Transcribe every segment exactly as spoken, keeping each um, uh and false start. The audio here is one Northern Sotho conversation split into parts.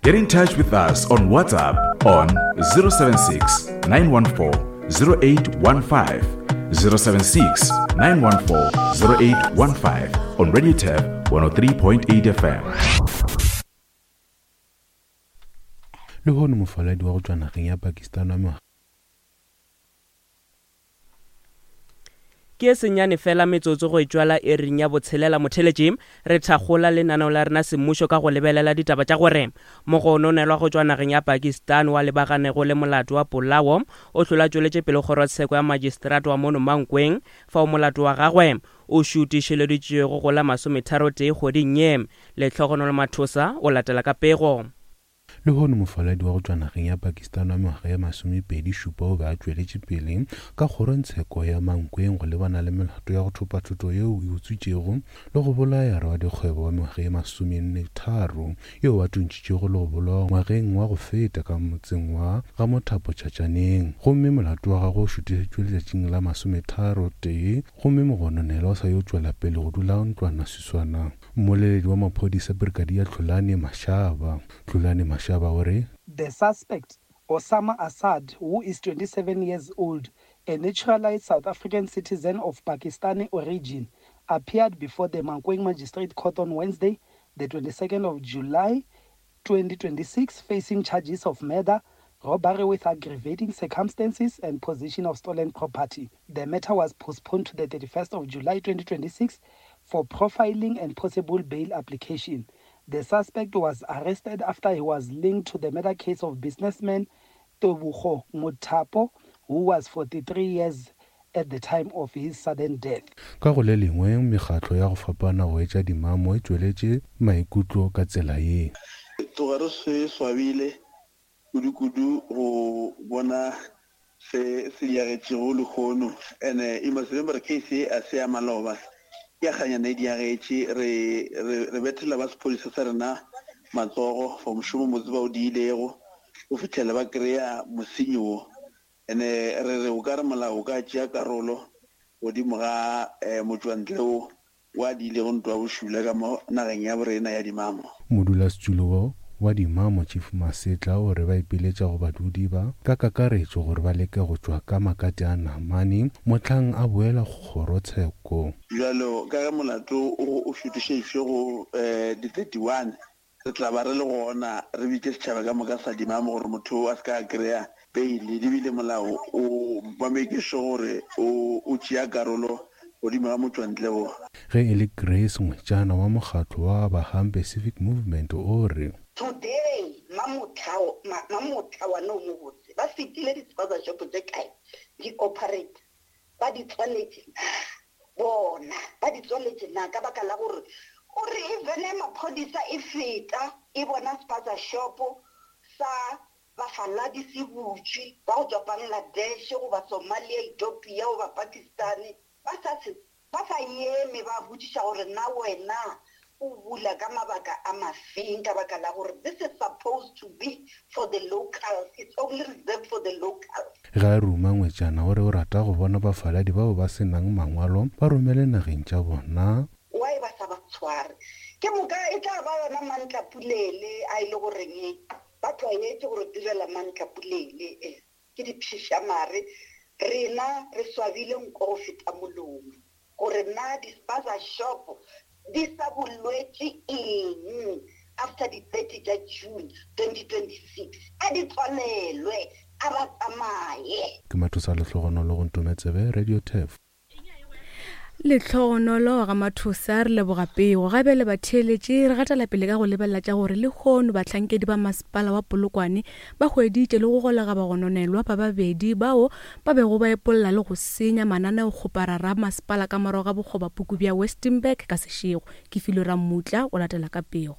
Get in touch with us on WhatsApp on zero seven six, nine one four, zero eight one five, zero seven six, nine one four, zero eight one five on Radio Turf one oh three point eight F M. Lehono mofaladi wa go tšwa nageng ya Pakistan wa mengwaga Ke e senyane fela metsotso go e tšwala ering ya botshelela motheletši, re thakgola lenaneo la rena semmušo ka go lebelela ditaba tša gore mogononelwa go tšwa nageng ya Pakistan wa lebaganego le molato wa polao o hlola tšweletše pele kgorotsheko ya magistrate wa mono Mankweng, fao molato wa gagwe o šutišeleditšwego go la masometharotee kgweding ye. Lehlogonolo Mathosa o latela ka pego. Lehono mofaladi wa go tšwa nageng ya Pakistan wa mengwaga ya masomepedi šupa o be a tšweletše pele ka kgorongtsheko ya Mankweng go lebana le melato ya go thopa thoto yeo e utswitšego le go bolaya radikgwebo wa mengwaga ye masomenne tharo yeo a tuntšitšego le go bolawa ngwageng wa go feta ka motseng wa ga Mothapo Tšhatšaneng. Gomme molato wa gagwe o šutišetšwe letšatšing la masometharo tee, gomme mogononelwa o sa yo tšwela pele go dula ntlwanaswiswana. Mmoleledi wa maphodisa Brigadier Tlolane Mashaba. Tlolane Mashaba o re, The suspect, Osama Assad, who is twenty-seven years old, a naturalized South African citizen of Pakistani origin, appeared before the Mankweng Magistrate Court on Wednesday, the twenty-second of July, twenty twenty-six, facing charges of murder, robbery with aggravating circumstances, and possession of stolen property. The matter was postponed to the thirty-first of July, twenty twenty-six, for profiling and possible bail application. The suspect was arrested after he was linked to the murder case of businessman Tebogo Mothapo, who was forty-three years at the time of his sudden death. Ka go le lengwe, mekgatlo ya go fapana go etša dimamo e tšweletše maikutlo ka tsela ye. Tloga re se swabile kudu-kudu go bona se se diagetšego lehono. And-e, you must remember case e a se ya maloba. Ke a kganyana e diagetše, re, re, re bethela ba sephodisa sa rena matsogo for mošomo motse ba o diilego go fitlhela ba kry-a mosenyi wo. And-e, re re o ka re molao o ka tšea karolo godimo ga, eh, motšwantle wo wa diilego ntwa ya bošula ka mo nageng ya borena ya Dimamo. Modulasetulo wa Dimamo Chief Masetla o re ba ipiletša go badudi ba ka kakaretšo gore ba leke go tšwa ka makate a namane mohlang a boela kgorotsheko. Bjalo ka ge molato o, o šutišeditšwe go, eh, di thirty-one, re tla ba re le gona re bitše setšhaba ka moka sa Dimamo gore motho a se ka kry-a bail. Ebile molao o ba make sure gore o, o tšea karolo godimo ga motšwantle wo. Ge e le Grace Ngwetšana wa mokgatlo wa Bahambe Civic Movement o re, Today, Mamotla, ma, Mamotla wa no mobotse, ba fetile di-spaza shop tse kae, di operate, ba di tswaletše na? Bona, ba di tswaletše na? Ka baka la gore o re even maphodisa e feta, e bona spaza shop sa bafaladi se butšwe, ba go tšwa Bangladesh goba Somalia, Ethiopia goba Pakistan, ba sa se, ba sa eme ba botšiša gore na wena o bula ka mabaka a mafeng, ka baka la gore this is supposed to be for the locals, it's only reserved for the locals. Ge a ruma Ngwetšana o re o rata go bona bafaladi bao ba senang mangwalo ba romele nageng tša bona. Why ba sa ba tshware? Ke moka e tla ba yona mantlapulele a e le goreng ba tlwaetše gore direla mantlapulele, eh, ke diphišamare. Rena re swabile nko go feta molomo gore na di-spaza shop di sa bolwetše eng after di thirty tša June twenty twenty-six. A di tswalelwe, a ba tsamaye. Ke Mathosa Lehlogonolo go Ntometsebe, Radio Turf. Lehlogonolo ga Mathosa, re leboga pego. Gape le batheeletše, re gatela pele ka go lebelela tša gore lehono bahlankedi ba masepala wa Polokwane ba hweditše le go golega bagononelwa ba babedi bao ba bego ba epolla le go senya mananeokgoparara a masepala ka morago ga bokgobapuku bja Westonburg ka sešego. Ke Filwe Rammutla o latela ka pego.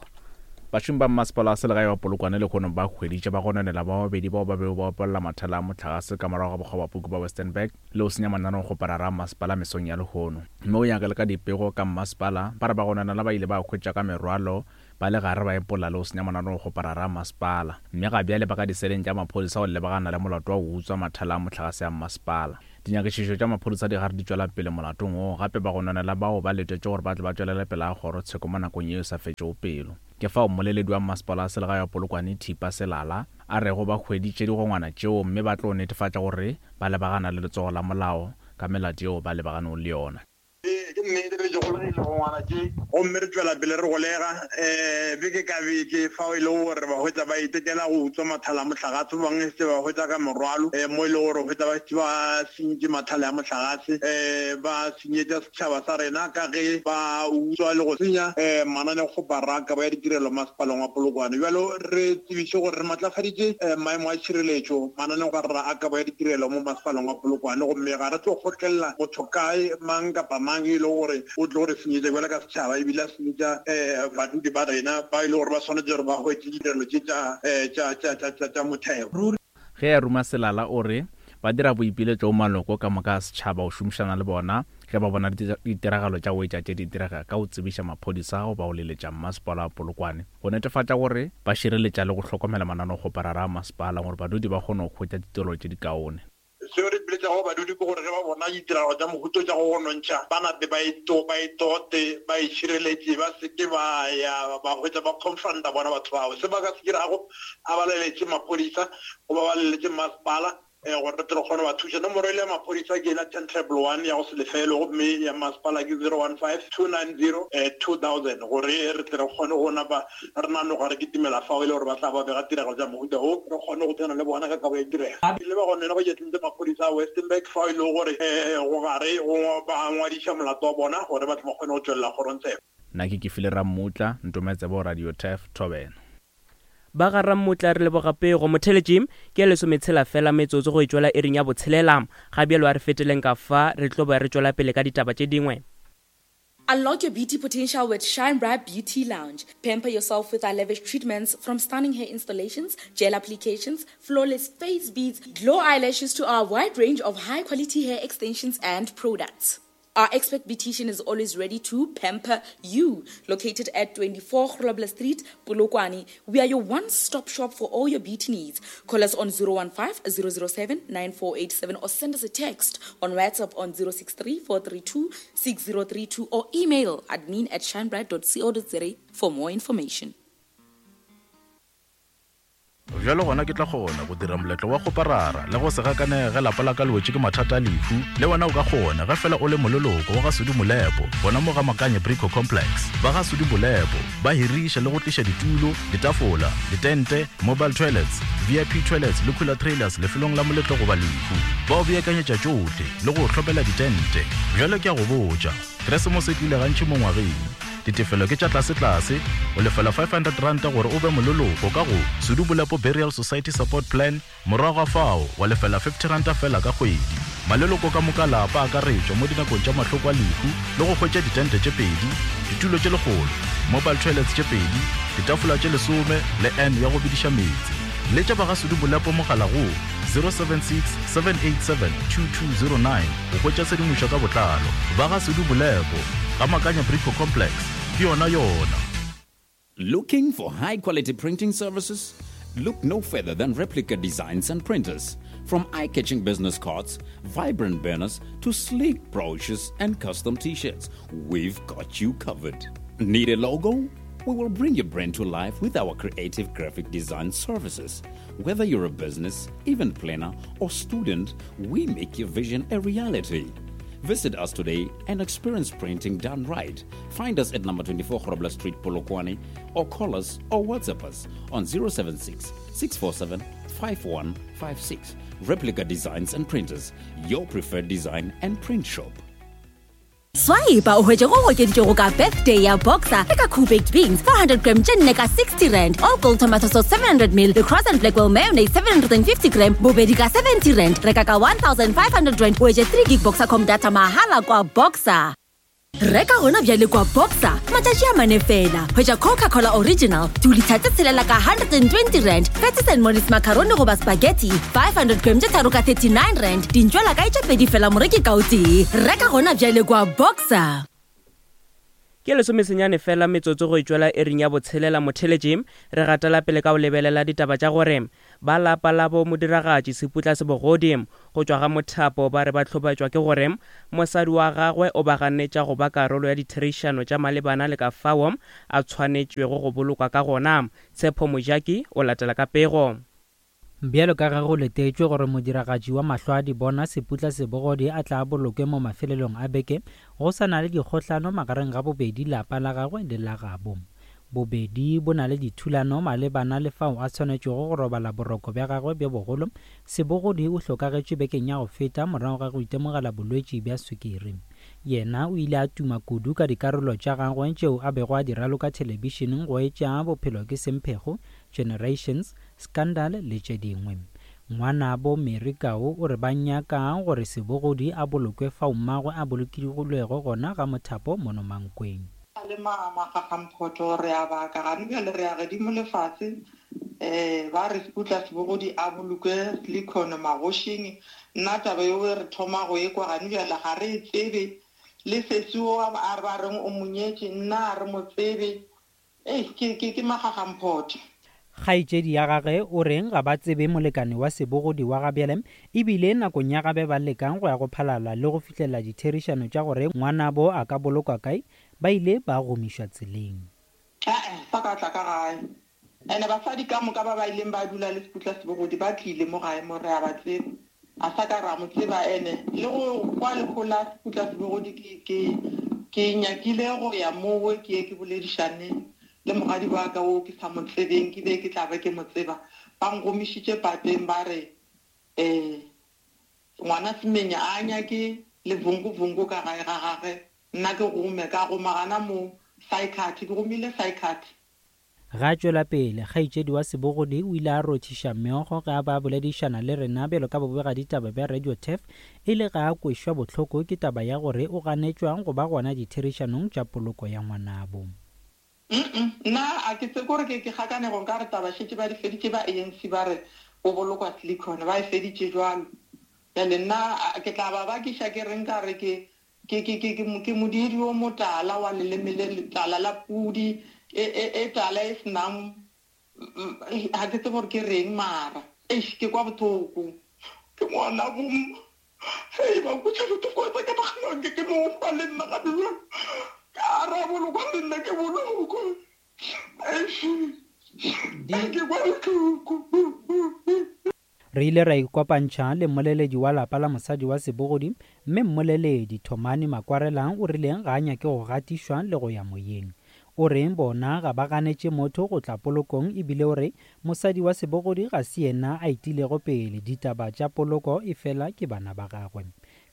Bašomi ba masepala wa selegae wa Polokwane lehono ba hweditše ba gononela ba babedi bao ba bego ba epolla mathala a mohlagase ka morago ga bokgobapuku ba Westonburg le go senya mananeokgoparara a masepala mesong ya lehono. Mme o nyaka le ka dipego ka mmasepala, ba re ba gononela ba ile ba hwetša ka merwalo ba le gare ba epolla le go senya mananeokgoparara a masepala. Mme ga bjale ba ka diseleng tša maphodisa go lebagana le molato wa go utswa mathala a mohlagase a mmasepala. Dinyakišišo tša maphodisa di gare di tšwela pele molatong wo, gape ba gononela bao ba letetše gore ba tle ba tšwelele pele ga kgorotsheko mo nakong yeo e sa fetšego pelo. Ke fao mmoleledi wa masepala wa selegae wa Polokwane Thipa Selala a rego ba hweditše digongwana tšeo mme ba tlo netefatša gore ba lebagana le letsogo la molao ka melato yeo ba lebaganeng le yona. Ee, ke nnete re golegile digongwana tše gomme re tšwela pele re golega um beke ka beke fao e lego gore ba hwetša ba itekela go utswa mathala a mohlagase, ba bangwe setse ba hwetša ka morwalo um mo e lego gore hwetša ba šetše ba sentše mathala a mohlagase um ba senyetša setšhaba sa rena ka ge ba utswa le go senya um mananekgoparara a kabo ya ditirelo masepaleng wa Polokwane. Bjalo re tsebiše gore re matlafaditše um maemo a tšhireletšo mananekgoparara a kabo ya ditirelo mo masepaleng wa Polokwane, gomme ga re tlo kgotlelela motho kae mang kapa mang e le gore o tlo re senyetša bjalo ka setšhaba ebile a senyetša um badudi ba rena ba e le gore ba swanetše gore ba hwetše ditirelo tše tša motheo. Ge a ruma Selala o re ba dira boipiletšo maloko ka moka a setšhaba go šomišana le bona ge ba bona ditiragalo tša go etša tše di direga ka go tsebiša maphodisa goba go leletša mmasepala wa Polokwane go netefatša gore ba šireletša le go hlokomela mananekgoparara a masepala gore badudi ba kgone go hwetša ditirelo tše dikaone. Seo re ipiletšago badudi ke gore ge ba bona ditiragalo tša mohuto tša go gonontšha ba nape ba ba itote ba itšhireletše, ba seke ba ya ba hwetša ba confronta bona batho bao. Se ba ka se dirago a ba leletše maphodisa goba ba leletše masepala gore re tle re kgone ba thuša. Nomoro ile ya maphodisa ke ela ten triple one ya go se lefelo, gomme ya masepala ke zero one five two nine zero two thousand gore re tle re kgone go napa re nanoga re kitimela fao e le gore ba tla ba bega tiragalo tša mohuta o re kgone go tsena le bona ka kabo ya tirego. Le ba gone ba tšetlentse maphodisa a Westenburg fao e le gore go gare go ba ngwadiša molato wa bona gore ba tle ba kgone go tšwelela kgorongtsheko. Nna ke Kefile Rammutla, Ntometsebo Radio Turf Thobela. Ba ga Rammutla re leboga pego. Motheletši ke lesometshela fela metsotso go e tšwela ering ya botshelela. Ga bjalo a re feteleng ka fa re tlo ba re tšwela pele ka ditaba tše dingwe. Unlock your beauty potential with Shine Bright Beauty Lounge. Pamper yourself with our lavish treatments, from stunning hair installations, gel applications, flawless face beads, glow eyelashes to our wide range of high-quality hair extensions and products. Our expert beautician is always ready to pamper you. Located at twenty-four Grobler Street, Polokwane, we are your one-stop shop for all your beauty needs. Call us on zero one five, zero zero seven, nine four eight seven or send us a text on WhatsApp on zero six three, four three two, six zero three two or email admin at shinebright dot co dot za for more information. Bjalo gona ke tla kgona go dira moletlo wa kgoparara le go se gakanege lapa la ka le wetše ke mathata a lehu. Le wena o ka kgona ge fela o le moleloko wa ga Sudi Molepo gona mo ga Makanye Brico Complex. Ba ga Sudi Molepo ba hiriša le go tliša ditulo, ditafola, ditente, mobile toilets, V I P toilets le cooler trailers lefelong la moletlo goba lehu. Ba o beakanyetša tšohle le go hlopela ditente. Bjalo ke a go botša, Keresemose e tlile gantši mo ngwageng. Ditefelo ke tša tlase-tlase, o lefela five hundred rand gore o be moleloko ka go Sudi Molepo Burial Society Support Plan, morago ga fao wa lefela fifty rand fela ka kgwedi. Maleloko ka moka lapa a akaretšwa mo dinakong tša mahloko a lehu le go hwetša ditente tše pedi, ditulo tše lekgolo, mobile toilets tše pedi, ditafola tše lesome le N ya go bediša meetse. Letša ba ga Sudi Molepo mogala go zero seven six, seven eight seven, two two zero nine go hwetša tshedimošo ka botlalo. Ba ga Sudi Molepo ga Makanya Brico Complex ke yona yona. Looking for high quality printing services? Look no further than Replica Designs and Printers. From eye-catching business cards, vibrant banners, to sleek brochures and custom t-shirts, we've got you covered. Need a logo? We will bring your brand to life with our creative graphic design services. Whether you're a business, event planner, or student, we make your vision a reality. Visit us today and experience printing done right. Find us at number twenty-four Grobler Street, Polokwane, or call us or WhatsApp us on zero seven six, six four seven, five one five six. Replica Designs and Printers, your preferred design and print shop. Swipe o hwetše go okeditšego ka birthday ya Boxer le ka Cool Baked Beans four hundred gram tše nne ka sixty rand, All Gold Tomato Sauce seven hundred mil le Cross and Blackwell Mayonnaise seven hundred and fifty gram bobedi ka seventy rand. Reka ka one thousand five hundred rand o hwetše three gig Boxercom data mahala kwa Boxer. Reka gona bjale kwa Boxer matšatši a mane fela. Hwetša Coca-Cola Original two litre tse tshelela ka hundred and twenty rand, Patties and Molly's macaroni goba spaghetti five hundred gram tše tharo ka thirty-nine rand, dintšwela ka tše pedi fela moreki ka o tee. Reka gona bjale kwa Boxer. Ke lesomesenyane fela metsotso go itšwela ering ya botshelela motheletši. Re gatela pele ka go lebelela ditaba tša gore ba lapa la bo modiragatši Seputla Sebogodi go tšwa ga Mothapo ba re ba hlobaetšwa ke gore mosadi wa gagwe o ba ganetša go ba karolo ya ditherišano tša malebana le ka fao a tshwanetšwego go bolokwa ka gona. Tshepo Mojaki o latela ka pego. Bjalo ka ge go letetšwe gore modiragatši wa mahlo a dibona Seputla Sebogodi a tla bolokwe mo mafelelong a beke, go sa na le dikgohlano magareng ga bobedi lapa la gagwe le la gabo. Bobedi bo na le dithulano malebana le fao a tshwanetšego go robala boroko bja gagwe bjo bogolo. Sebogodi o hlokagetše bekeng ya go feta morago ga go itemogela bolwetši bja swikiri. Yena o ile a tuma kudu ka dikarolo tša gagwe tšeo a bego a di raloka thelebišeneng go etša Bophelo ke Semphego, Generations, Scandal le tše dingwe. Ngwanabo Mary Kau o re ba nyaka gore Sebogodi a bolokwe fao mmagwe a bolokilwego gona ga Mothapo mono Mankweng. Le magagamphotho re a baka gane bjale re ya gedimo lefase um ba re Seputla Sebogodi a bolokwe Silicon magošing. Nna taba eo re thoma go e kwa gane bjale ga re e tsebe, le sesi o a re ba reng o monyetše nna a re mo tsebe. Ei ke ke ke magagamphotho. Kgaetšedi ya gagwe o reng ga ba tsebe molekane wa Sebogodi wa gabjale, ebile nakong ya gabe ba lekang go ya go phalala le go fihlela ditherišano tša gore ngwanabo a ka bolokwa kae, ba ile ba gomišwa tseleng. Ae sa ka tla ka gae ene basadi ka moka ba ba ileng ba dula le Seputla Sebogodi ba tlile mo gae mo re a ba tseba, a sa ka ra mo tseba. Ene le go kwa lehola Seputla Sebogodi ke ke ke nyakile go ya mowe ke ye ke boledišane le mogadi wa ka o ke sa mo tsebeng, ke be ke tla be ke mo tseba. Ba ngomišitše pateng ba re um ngwana Semenya a nyake le vunguvungu ka gae ga gage, nna ke gome ka goma gana mo psychiatry, ke gomile psychiatry. Ga tšwela pele, kgaetšedi wa Sebogodi o ile a rothiša meokgo ge a ba boledišana le rena bjalo ka bobegaditaba bja Radio Turf, e le ga a kwešwa bohloko ke taba ya gore o ganetšwang go ba gona ditherišanong tša poloko ya ngwanabo. Nna a ke tse kore ke ke gakanego nka re taba šetše ba di feditše ba A N C ba re o bolokwa Silicon, ba e feditše jwalo. Bjale nna ke tla ba bakiša ke reng ka re ke ke ke ke ke modiri o motala wa leleme le letala la pudi e e e tala e senang ha ke tsebe gore ke reng mara eish ke kwa bothoko ke ngwana bomma. Hei ba nkwetša bothoko tsa ka naganang ke ke no hwa le nna ga bjalo ka ra bolokwa le nna ke bolokwe. Eish ke kwa bohloko. Re ile ra ikopantšha le mmoleledi wa lapa la mosadi wa Sebogodi, mme mmoleledi Thomane Makwarelang o rileng ga a nyake go gatišwa le go ya moyeng. O reng bona ga ba ganetše motho go tla polokong, ebile o re mosadi wa Sebogodi ga se yena a itilego pele ditaba tša poloko e fela ke bana ba gagwe.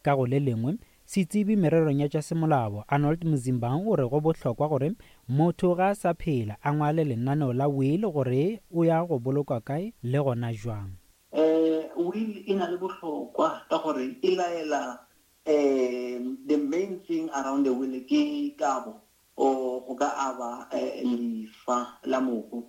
Ka go le lengwe, setsebi mererong ya tša semolao Arnold Mzimba o re go bohlokwa gore motho ga a sa phela a ngwale lenaneo la will gore o ya go bolokwa kae le gona jwang. Eh will e na le bohlokwa ka gore e laela um the main thing around the will ke kabo or go ka aba lefa la mohu.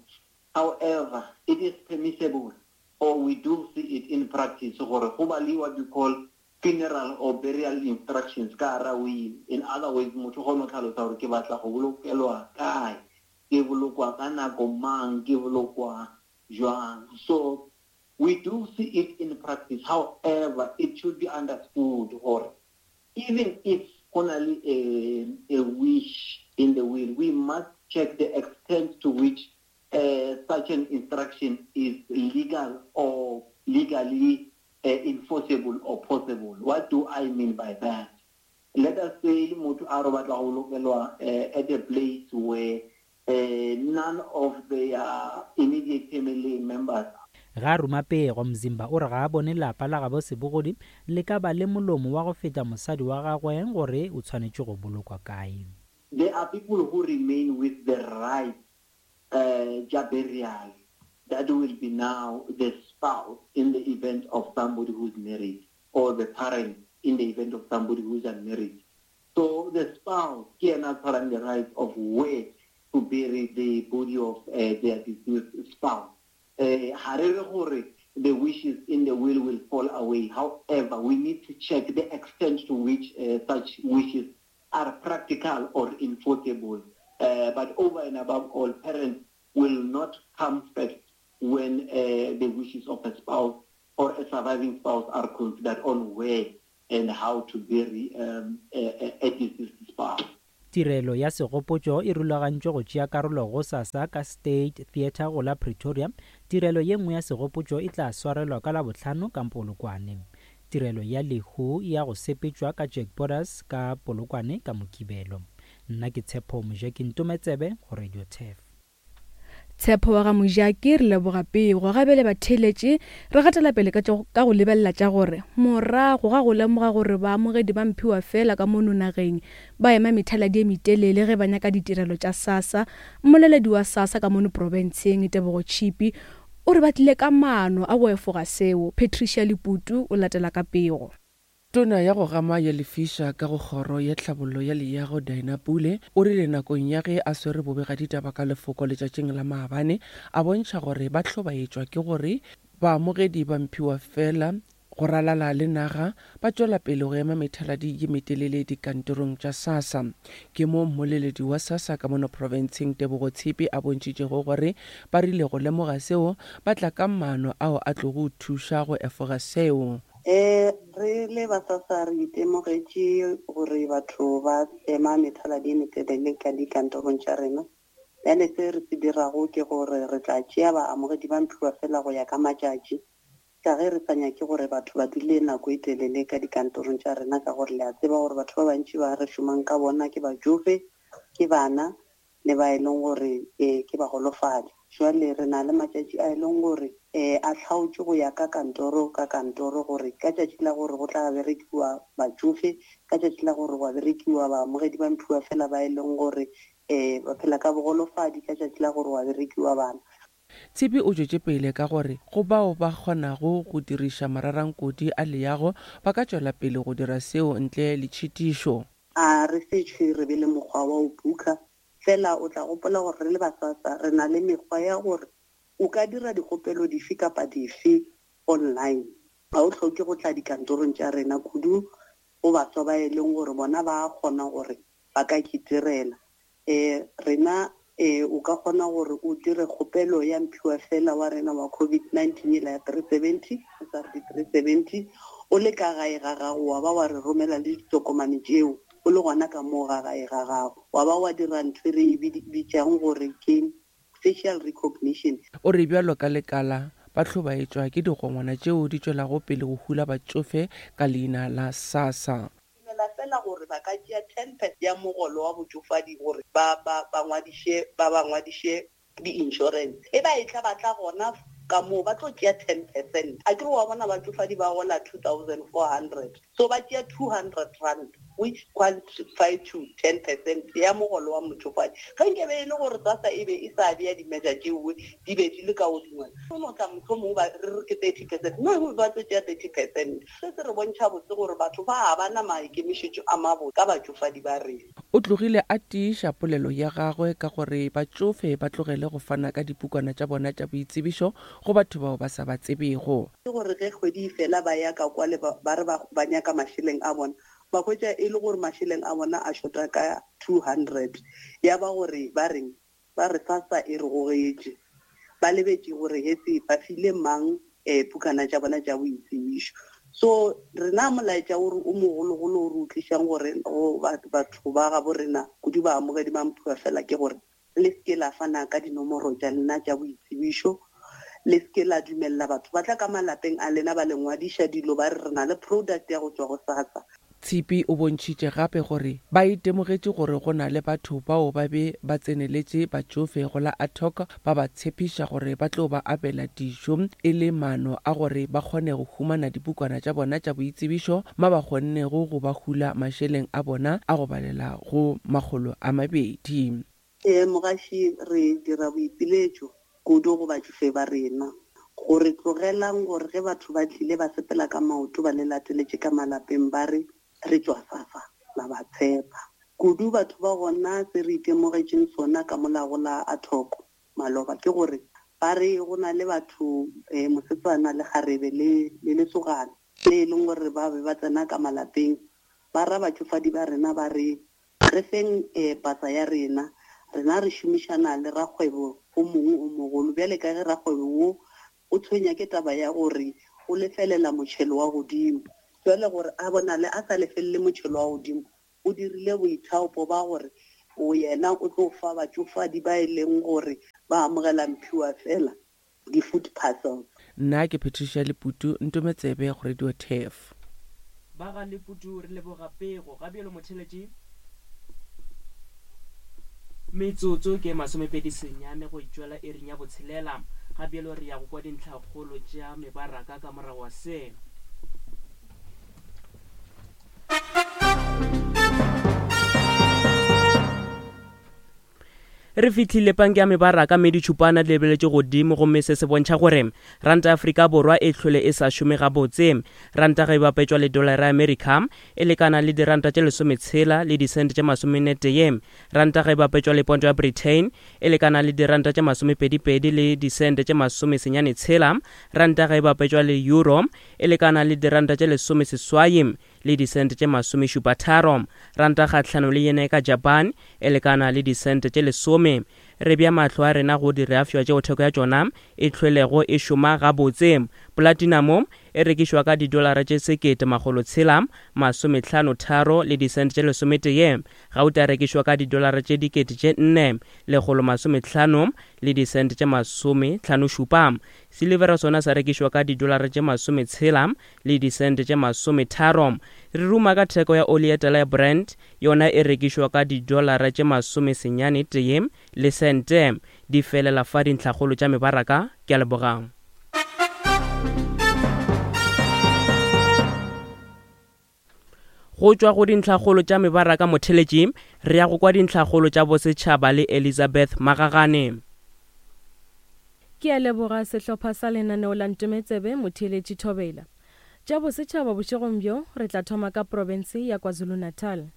However, it is permissible or we do see it in practice gore go ba le what you call funeral or burial instructions ka hara will. In other words, motho o kgona go tlhalosa gore ke batla go bolokelwa kae, ke bolokwa ka nako mang, ke bolokwa jwang. So we do see it in practice. However, it should be understood gore even if go na le a, a wish in the will, we must check the extent to which uh, such an instruction is legal or legally uh, enforceable or possible. What do I mean by that? Let us say motho a re batla go bolokelwa at a place where uh, none of their immediate family members. Ga ruma pego Mzimba o re ga a bone lapa la gabo Sebogodi le ka ba le molomo wa go feta mosadi wa gagwe gore o tshwanetše go bolokwa kae. There are people who remain with the right uh, burial. That will be now the spouse in the event of somebody who's married, or the parent in the event of somebody who's unmarried. So the spouse cannot have the right of where to bury the body of uh, their deceased spouse. Uh, the wishes in the will will fall away. However, we need to check the extent to which uh, such wishes are practical or enforceable. Uh, but over and above all, parents will not come first when uh, the wishes of a spouse or a surviving spouse are considered on where and how to bury um, a, a deceased spouse. Tirelo ya segopotšo e rulagantšwe go tšea karolo go sasa ka State Theatre go la Pretoria. Tirelo ye nngwe ya segopotšo e tla swarelwa ka Labohlano ka Polokwane. Tirelo ya lehu ya go sepetšwa ka Jack Borders ka Polokwane ka Mokibelo. Nna ke Tshepo Mojaki Ntometsebe go Radio Turf. Tshepo wa ga Mojaki, re leboga pego. Gabele batheeletše, re gatela pele ka ka go lebelela tša gore morago ga go lemoga gore baamogedi ba mphiwa fela ka mono nageng ba ema methaladi e metelele ge ba nyaka ditirelo tša SASSA. Mmoleledi wa SASSA ka mono profenseng Tebogo Chipi o re ba tlile ka maano a go efoga seo. Patricia Leputu o latela ka pego. Tona ya go gama ya lefiša ka go kgoro ya tlhabollo ya leago Dina Pule o rile nakong ya ge a swere bobegaditaba ka lefoko letšatšing la maabane a bontšha gore ba hlobaetšwa ke gore baamogedi ba mphiwa fela go ralala le naga ba tšwela pele go ema methaladi ye metelele dikantorong tša SASSA. Ke mo mmoleledi wa SASSA ka mono profenseng Tebogo Tshipi a bontšhitšego gore ba rile go lemoga seo ba tla ka maano ao a tlogo thuša go efoga seo. Eh re le ba SASSA re itemogetše gore batho ba ema methaladi e metelele ka dikantorong tša rena. Bjale se re se dirago ke gore re tla tšea baamogedi ba mphiwa fela go ya ka matšatši, ka ge re sa nyake gore batho ba dule nako e telele ka dikantorong tša rena, ka gore le a tseba gore batho ba bantši ba re šomang ka bona ke batšofe, ke bana le ba e leng gore eh ke bagolofadi. Jwale re na le matšatši a e leng gore eh a hlaotše go ya ka kantoro ka kantoro, gore ka tšatši la gore go tla berekiwa batšofe, ka tšatši la gore go berekiwa baamogedi ba mphiwa fela ba e leng gore eh ba phela ka bogolofadi, ka tšatši la gore go berekiwa bana. Tshipi o tšwetše pele ka gore go bao ba kgonago go diriša mararankodi a leago ba ka tšwela pele go dira seo ntle le tšhitišo. A re se re be le mokgwa wa go buka fela, o tla gopola gore re le ba SASSA re na le mekgwa ya gore o ka dira dikgopelo dife kapa dife online. Ga o hloke go tla dikantorong tša rena, kudu go baswa ba e leng gore bona ba kgona gore ba ka itirela. Eh rena eh o ka kgona gore o dire kgopelo ya mphiwa fela wa rena wa COVID nineteen la three seventy, S R D three seventy, o le ka gae ga gago, wa ba wa re romela le ditokomane tšeo o le gona ka moo ga gae ga gago, wa ba wa dira ntho e re e bitšang gore ke facial recognition. O re bjalo ka lekala ba hlobaetšwa ke digongwana tšeo di tšwelago pele go hula batšofe ka leina la SASSA. Dumela fela gore ba ka tšea ten percent ya mogolo wa botšofadi gore ba ba ba ngwadiše ba ba ngwadiše di-insurance. E ba e tla ba tla gona ka moo ba tlo tšea ten percent. A ke re wa bona batšofadi ba gola two thousand four hundred, so ba tšea two hundred rand which qualify to ten percent ya mogolo wa motšofadi. Ge nke be e le gore SASSA e be e sa bea di-measure tšeo di be di le ka godingwana, o no tla mohlomongwe ba re re ke thirty percent, mme ba tlo tšea thirty percent. Se se re bontšha botse gore batho ba ba na maikemišetšo a mabotse ka batšofadi ba rena. O tlogile a tiiša polelo ya gagwe ka gore batšofe ba tlogele go fana ka dipukwana tša bona tša boitsebišo go batho bao ba sa ba tsebego. Ke gore ge kgwedi e fela ba ya ka kwa le ba re ba nyaka mašeleng a bona, ba hwetša e le gore mašeleng a bona a shota ka two hundred, ya ba gore ba reng ba re SASSA e re gogetše, ba lebetše gore hetse ba file mang eh pukana tša bona tša boitsebišo. So rena molaetša o o mogologolo o re utlišang gore go batho ba gabo rena kudu ba amogedi ba mphiwa fela ke gore le seke la fana ka dinomoro tša lena tša boitsebišo, le seke la dumella batho ba tla ka malapeng a lena ba le ngwadiša dilo ba re re na le product ya go tšwa go SASSA. Tshipi o bontšhitše gape gore ba itemogetše gore go na le batho bao ba be ba tseneletše batšofe go la Atok ba ba tshepiša gore ba tlo ba abela dijo e le maano a gore ba kgone go humana dipukwana tša bona tša boitsebišo ma ba kgonnego go ba hula mašeleng a bona a go balela go makgolo a mabedi. Eh mogaši, re dira boipiletšo kudu go batšofe ba rena gore tlogelang gore ge batho ba tlile ba sepela ka maoto ba le lateletše ka malapeng ba re re tšwa SASSA, la ba tshepa. Kudu batho ba gona se re itemogetšeng sona ka molago la Atok maloba ke gore ba re go na le batho eh mosetsana le kgarebe le le lesogana le e leng gore ba be ba tsena ka malapeng ba ra batšofadi ba rena ba re Re feng eh, pasa ya rena. Rena re šomišana le rakgwebo o mongwe o mogolo. Bjale ka ge rakgwebo wo o tshwenya ke taba ya gore o lefelela motšhelo wa godimo. Jwale gore a bonale a sa lefelele motšhelo wa godimo, o dirile boithaopo ba gore o yena o tlo fa batšofadi ba e leng gore ba amogela mphiwa fela di-food parcels. Nna ke Patricia Leputu, Ntometsebe go Radio Turf. Ba ga Leputu re leboga pego. Ga bjalo motheletši metsotso ke masomepedi senyane go itšwela ering ya botshelela. Ga bjalo re ya go kwa dintlhakgolo tša mebaraka ka morago wa se. Re fihlile panke ya mebaraka mme ditšhupana di lebeletše godimo, gomme se se bontšha gore ranta ya Afrika Borwa e hlole e sa šome gabotse. Ranta ge e bapetšwa le dolara ya Amerika e lekana le diranta tše lesometshela le disente tše masomennetee. Ranta ge e bapetšwa le ponto ya Britain e lekana le diranta tše masomepedipedi le disente tše masomesenyane tshela. Ranta ge e bapetšwa le euro e lekana le diranta tše lesomeseswai le disente tše masomešupa tharo. Ranta kgahlano le yene ka Japan e lekana le disente tše lesome. Re bea mahlo a rena go direafšwa tšeo theko ya tšona e hlwelego e šoma gabotse. Platinum e rekišwa ka didolara tše sekete makgolo tshela masomehlano tharo le disente tše lesometee. Gauta e rekišwa ka didolara tše dikete tše nne lekgolo masomehlano le disente tše masomehlano šupa. Silivera sona sa rekišwa ka didolara tše masometshela le disente tše masometharo. Re ruma ka theko ya oli ya tala ya Brent, yona e rekišwa ka didolara tše masomesenyane tee le sente. Di felela fa dintlhakgolo tša mebaraka. Ke a leboga. Go tšwa go dintlhakgolo tša mebaraka motheletši, re ya go kwa dintlhakgolo tša bosetšhaba le Elizabeth Magagane. Ke a leboga sehlopha sa lenaneo la Ntometsebe motheletši Thobela. Tša bosetšhaba bošegong bjo re tla thoma ka profense ya KwaZulu-Natal.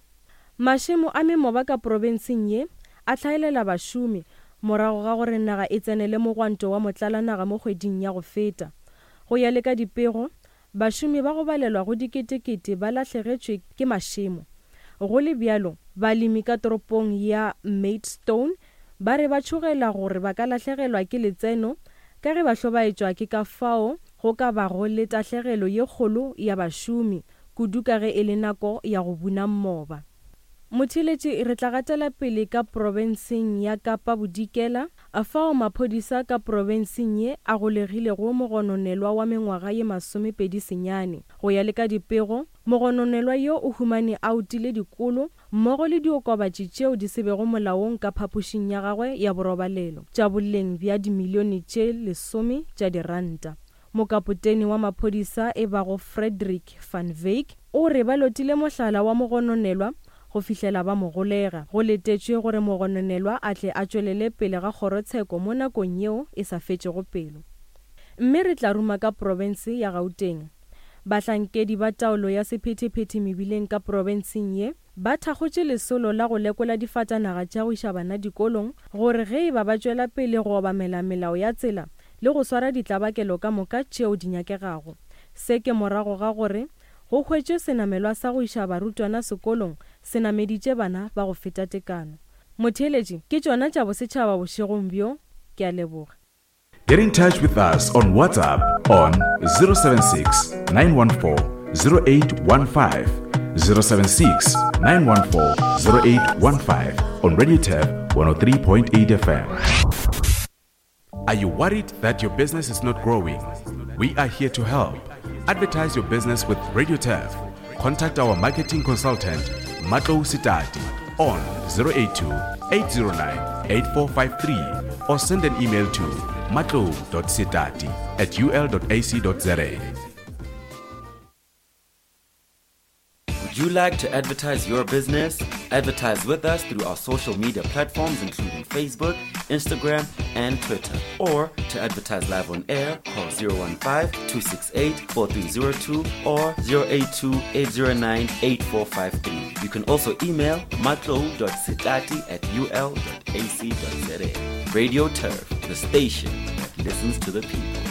Mašemo a memoba ka profenseng ye a hlaelela bašomi morago ga gore naga e tsenele mogwanto wa motlalanaga mo kgweding ya go feta. Go ya le ka dipego, bašomi ba go balelwa go diketekete ba lahlegetšwe ke mašemo. Go le bjalo, balemi ka toropong ya Maidstone ba re ba tšhogela gore ba ka lahlegelwa ke letseno ka ge ba hlobaetšwa ke ka fao go ka bago le tahlegelo ye kgolo ya bašomi, kudu ka ge e le nako ya go buna mmoba. Motheletši re tla gatela pele ka profenseng ya Kapa Bodikela, fao maphodisa ka profenseng ye a golegilego mogononelwa wa mengwaga ye masomepedi senyane. Go ya le ka dipego, mogononelwa yo o humane a utile dikolo mmogo le diokobatši tšeo di se bego molaong ka phapošing ya gagwe ya borobalelo tša boleng bja dimilione tše lesome tša diranta. Mokapotene wa maphodisa e bago Frederick van Wyk o re ba lotile mohlala wa mogononelwa go fihlela ba mo golega. Go letetšwe gore mogononelwa a tle a tšwelele pele ga kgorotsheko mo nakong yeo e sa fetšego pelo. Mme re tla ruma ka profense ya Gauteng. Bahlankedi ba taolo ya sephethephethe mebileng ka profenseng ye ba thakgotše lesolo la go lekola difatanaga tša go iša bana dikolong gore ge e ba ba tšwela pele go obamela melao ya tsela le go swara ditlabakelo ka moka tšeo di nyakegago. Se ke morago ga gore go hwetšwe senamelwa sa go iša barutwana sekolong se nameditše bana ba go feta tekano. Motheeletši, ke tšona tša bosetšhaba bošegong bjo. Ke a leboga. Get in touch with us on WhatsApp on zero seven six, nine one four, zero eight one five, zero seven six, nine one four, zero eight one five on Radio Turf one oh three point eight F M. Are you worried that your business is not growing? We are here to help. Advertise your business with Radio Turf. Contact our marketing consultant, Matlou Sitati, on zero eight two, eight zero nine, eight four five three or send an email to matlou dot sitati at u l dot a c dot z a. Would you like to advertise your business? Advertise with us through our social media platforms including Facebook, Instagram, and Twitter. Or to advertise live on air, call zero one five, two six eight, four three zero two or zero eight two, eight zero nine, eight four five three. You can also email matlou dot sitati at u l dot a c dot z a. Radio Turf, the station that listens to the people.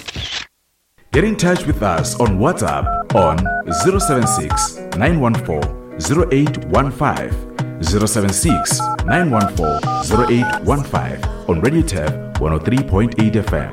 Get in touch with us on WhatsApp on zero seven six, nine one four, zero eight one five, zero seven six, nine one four, zero eight one five on Radio Turf one oh three point eight F M.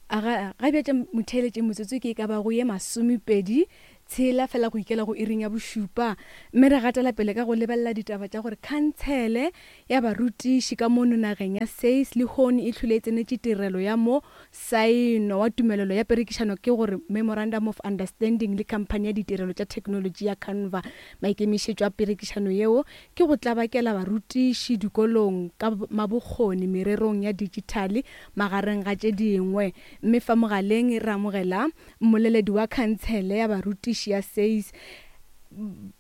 Aga ga bja motheletše motsotso ke ka ba go ye masomepedi tshela fela go ikela go iring ya bošupa, mme re gatela pele ka go lebelela ditaba tša gore khansele ya barutiši ka mono nageng ya SACE le hone e hlwile e tsenetše tirelo ya mo saeno wa tumelelo ya perekišano ke gore Memorandum of Understanding le khamphani ya ditirelo tša technology ya Canva. Maikemišetšo a perekišano yeo ke go tlabakela barutiši dikolong ka mabokgoni mererong ya digitale magareng ga tše dingwe. Mme fa mogaleng re amogela mmoleledi wa khansele ya barutiši ya SACE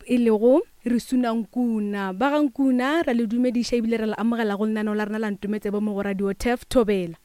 e lego Risuna Nkuna. Ba ga Nkuna ra le dumediša ebile re le amogela go lenaneo la rena la Ntometsebo mo go Radio Turf. Thobela.